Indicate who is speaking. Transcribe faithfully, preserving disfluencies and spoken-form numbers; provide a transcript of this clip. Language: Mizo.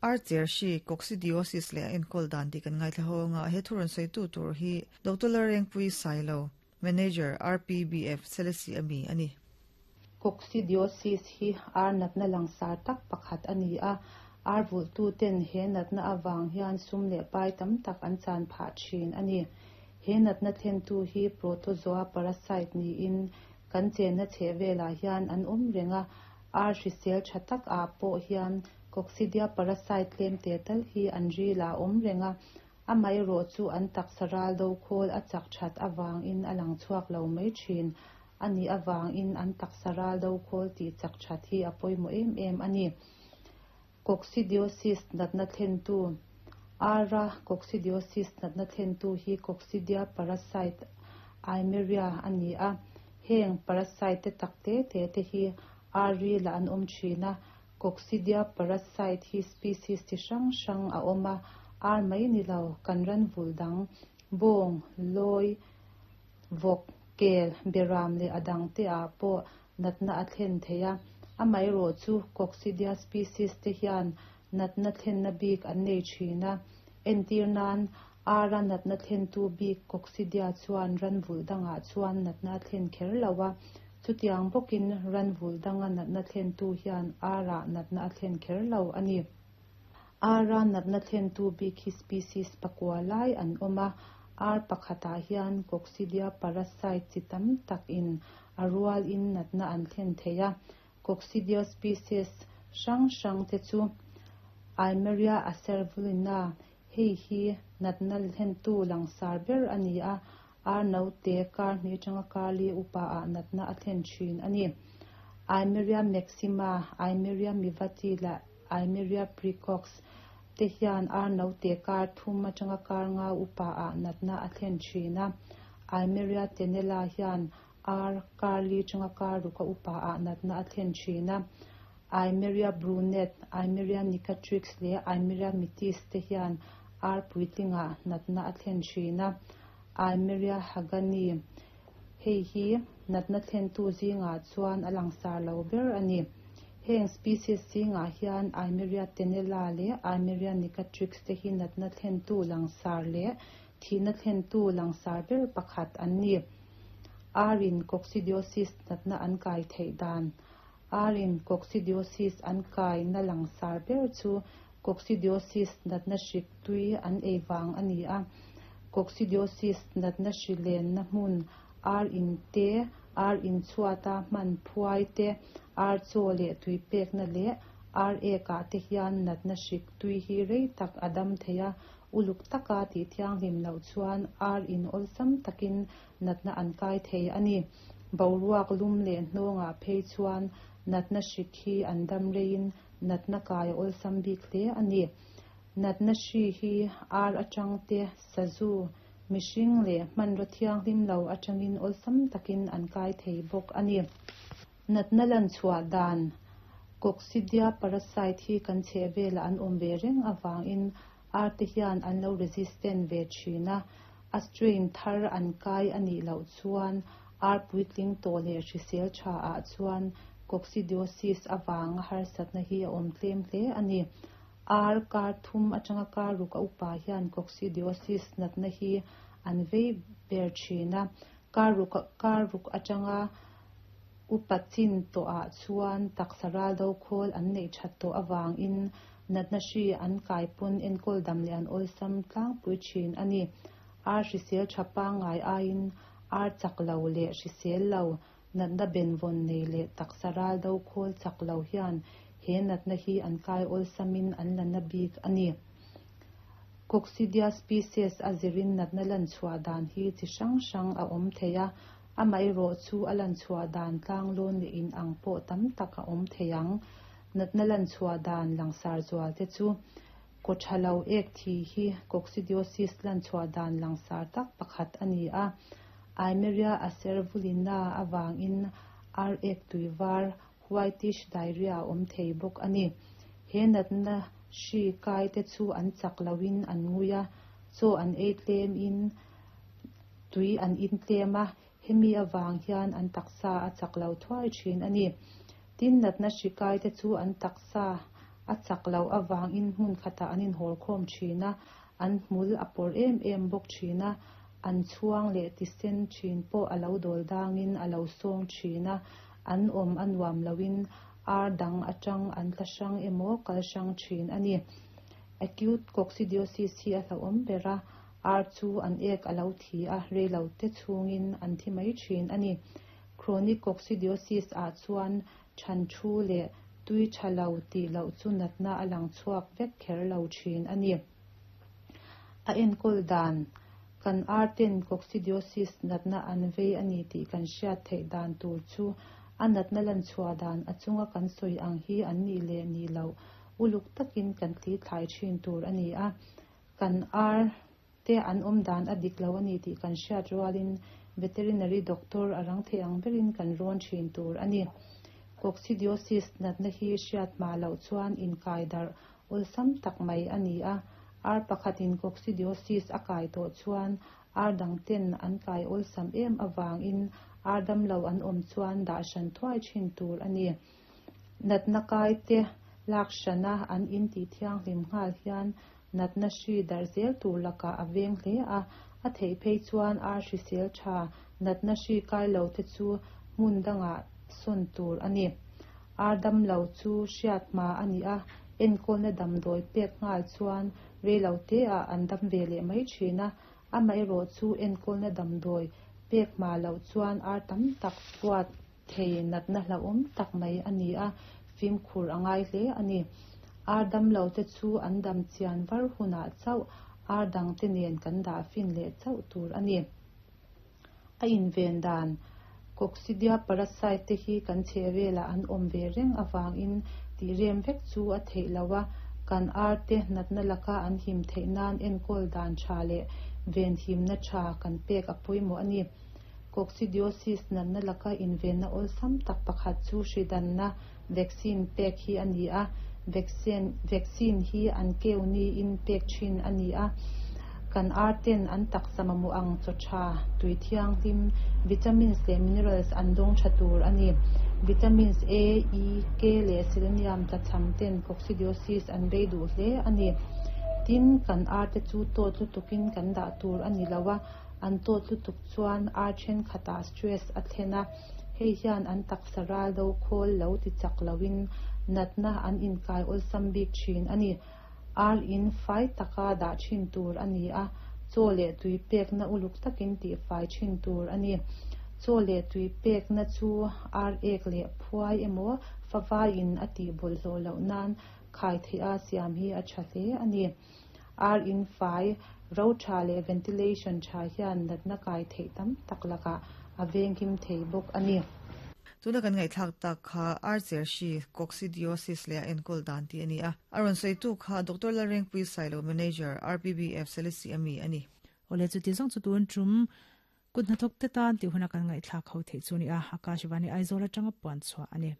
Speaker 1: Ar cher hri coccidiosis leh a enkawl dan tih kan ngaithla ho anga he thu rawn sawi tu tur hi Doctor Lalrengpuii Sailo, Manager, R P B F, Selesih ami a ni.
Speaker 2: Coccidiosis hi ar natna langsar tak pakhat a ni a, ar vulhtu ten he natna avang hian sum leh pai tam tak an chan phah thin a ni. He natna thlentu hi protozoa parasite niin kan chenna chhehvelah hian an awm reng a, ar hrisel tha tak ah pawh hian coccidia parasite tlem te tal hi an ril ah a awm reng a, amaherawh chu an taksa ral do khawl a chak that avangin a lang chhuak lo mai thin a nih avangin an taksa ral do khawl tih chak that hi a pawimawh em em a ni. Coccidiosis natna thlentu. Ara coccidiosis natna thlentu hi coccidia parasite Eimeria a ni a, heng parasite te tak te te te hi ar rilah an awm thin a. Coccidia parasite hi species chi hrang hrang a awm a, ar mai ni lo kan ran vul dang bawng, lawi, vawk, kel, beram leh a dang te ah pawh natna a thlen thei a. Amaherawh chu coccidia species te hian natna thlenna bik an nei thin a, entir nan ara natna thlentu bik coccidia chuan ran vul dangah chuan natna a thlen kher lo a, chutiang bawkin ran vul danga natna thlentu hian arah natna a thlen kher lo a ni. Ara natna thlentu bik hi species pakua lai an awm a, ar pakhatah hian coccidia parasite chi tam tak in a rual in natna an thlen thei a. Coccidia species hrang hrang te chu Eimeria acervulina, hei hi natna thlentu langsar ber a ni a, ar naute kar hnih atanga kar li upa ah natna a thlen thin a ni. Eimeria maxima, Eimeria mivati leh Eimeria praecox te hian ar naute kar thum atanga kar nga upa ah natna a thlen thin a. Eimeria tenella hian ar kar li atanga kar ruk a upa ah natna a thlen thin a. Eimeria brunet, Eimeria necatrix leh Eimeria mitis te hian ar puitlingah natna a thlen thin a. Eimeria hagani, hei hi natna thlentu zingah chuan a langsar lo ber a ni. Heng species zingah hian Eimeria tenella leh Eimeria necatrix te hi natna thlentu langsar leh thihna thlentu langsar ber pakhat an ni. Arin coccidiosis natna an kai theih dan. Arin coccidiosis an kai na langsar ber chu coccidiosis natna hrik tui an ei vang a ni a. Coccidiosis natna hri len na hmun ar in te, ar in chhuata hman phuai te, ar chaw leh tui pekna leh ar ekah te hian natna hrik tui hi rei tak a dam thei a, uluk taka tih thianghlim loh chuan ar in awlsam takin natna an kai thei a ni. Boruak lum leh hnawngah phei chuan natna hrik hi an dam reiin natna kai a awlsam bik hle a ni. Natna hri hi ar atang te, sazu, mihring leh hmanraw thianghlim lo atangin awlsam takin an kai thei bawk a ni. Natna lan chhuah dan. Coccidia parasite hi kan chhehvelah an awm ve reng avangin ar te hian an lo resistant ve thin a, a strain thar an kai a nih loh chuan ar puitling tawh leh hrisel tha ah chuan coccidiosis avanga harsatna hi a awm tlem hle a ni. Ar kar thum atanga kar ruk a upa hian coccidiosis natna hi an vei ber thin a, kar ruk kar ruk atanga upa chin tawh ah chuan taksa ral do khawl an neih that tawh awangin natna hri an kai pawn enkawl dam leh an awlsam tlangpui thin a ni. Ar hrisel tha pangngai aiin ar chak lo leh hrisel lo, natna benvawn nei leh taksa ral do khawl chak lo hian he natna hi an kai awlsamin an la na bik a ni. Coccidia species a zirin natna lan chhuah dan hi chi hrang hrang a awm thei a, amaherawh chu a lan chhuah dan tlanglawn leh in ang pawh tam tak a awm thei ang. Natna lan chhuah dan langsar zual te chu kaw tha lo ek thi hi coccidiosis lan chhuah dan langsar tak pakhat a ni a. Eimeria acervulina awangin ar ek tuivar, whitish diarrhea a awm thei bawk a ni. He natna hri kai te chu an chak loin an ngui a, chaw an ei tlem in tui an in tlem a, hemi awang hian an taksa a chak lo thuai thin a ni. Tin, natna hri kai te chu an taksa A chak lo awangin hmun khatah an inhawl khawm thin a, an hmul a pawr em em bawk thin a, an chhuang leh tisen thin pawh a lo dawl dangin a lo sawng thin a, an awm a nuam loin ar dang atang an tla hrang emaw kal hrang thin a ni. Acute coccidiosis hi a hlauhawm ber a, ar chu an ek a lo thi a, reilo te chhungin an thi mai thin a ni. Chronic coccidiosis ah chuan than thu leh tui tha lo tih loh chu natna a lang chhuak vek kher lo thin a ni. A enkawl dan kan ar ten coccidiosis natna an vei ani tih kan hriat theih dan tur chu a natna lan chhuah dan a chunga kan sawi ang hi an ni leh ni lo uluk takin kan thli thlai thin tur ani a. Kan ar te an awm dan a dik lo ani tih kan hriat rualin veterinary doctor a rang thei ang berin kan rawn thin tur ani. Coccidiosis natna hi hriat ma loh chuan inkai darh awlsam tak mai ani a. Ar pakhatin coccidiosis a kai tawh chuan ar dang ten an kai awlsam em awangin ar dam lo an awm chuan dah hran thuai thin tur ani. Natna kai te lak hrana an in tih thianghlim nghal hian natna hri darh zel tur lakah a veng hle a, a theih phei chuan ar hrisel tha natna hri kai lo te chu hmun dangah sawn tur ani. Ar dam lo chu hriat hma ani a, enkawlna damdawi pek nghal chuan reilo te ah an dam ve leh mai thin a, amaherawh chu enkawlna damdawi pek hma loh chuan ar tam tak puat thei natna hlauhawm tak mai ani a, fimkhur a ngai hle ani. Ar dam lo te chu an dam chian var hunah chauh ar dang te nen kan dah fin leh chauh tur ani. A inven dan coccidia parasite te hi kan chhehvelah an awm ve reng awangin tih rem vek chu a theih lo a, kan ar te natna laka an him theih nan enkawl dan tha leh ven himna tha kan pek a pawimawh ani. Coccidiosis natna laka invenna awlsam tak pakhat chu hridanna vaccine pek hi ani a, vaccine vaccine hi an keu ni in pek thin ani a. Kan ar ten an taksa mamawh ang chaw tha tui thianghlim vitamins leh minerals an dawng tha tur ani. Vitamins A, E, K leh selenium tlachham ten coccidiosis an bei duh hle ani. Tin kan ar te chu tawt lutukin kan dah tur ani lo a, an tawt lutuk chuan ar then khatah stress a thlen a, hei hian an taksa ral do khawl lo ti chak loin natna an inkai awlsam bik thin ani. Ar in fai taka dah thin tur ani a, chaw leh tui pekna uluk takin tih fai thin tur ani. Chaw leh tui pekna chu ar ek leh phuai emaw fawaiin a tih bawlhhlawh loh nan khai theih a siam hi a tha hle ani. Ar in fai ro tha leh ventilation tha hian natna kai theih tam tak lakah a venghim thei bawk ani.
Speaker 1: Tuna kan ngai thlak tak kha ar cher shi coccidiosis le enkawl dan ti ani a. Aron sei tu kha Doctor Lalrengpui Sailo, Manager, R P B F, Selesih ami ani.
Speaker 3: Ole, chu ti zong chu tun trum kut hnathawk te tan ti huna kan ngai thlak ho thei chu ni a. Akashvani Aizawl atanga puan chhuah ani.